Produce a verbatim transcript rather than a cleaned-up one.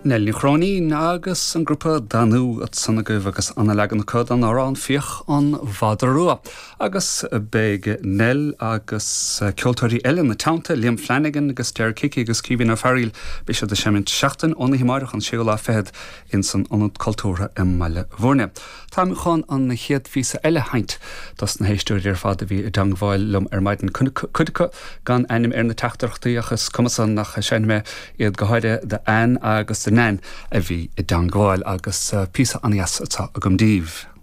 Nell Ní Chróinín agus an grúpa Danú ansan agaibh agus an leagan acu den amhrán Fiach an Mhadra Rua. Agus beidh Nell agus ceoltóirí eile ina teannta Liam Flanagan agus Derek Hickey agus Caoimhín Ó Fearghaíl beidh siad ag seimint seachtain ón amárach an séú lá fichead in san Ionad Cultúrtha i mBaile Bhúirne. Táim chun an chéad phíosa eile a sheinnt dos na héisteoirí ar fad a bhí i dteagmháil liom ar maidin cuid acu gan ainm ar na teachtaireachtaí ach is cuma san ach seinnfidh mé iad go háirithe d'Ann agus do Nan a bhí i dteagmháil agus píosa an-deas atá agam daoibh.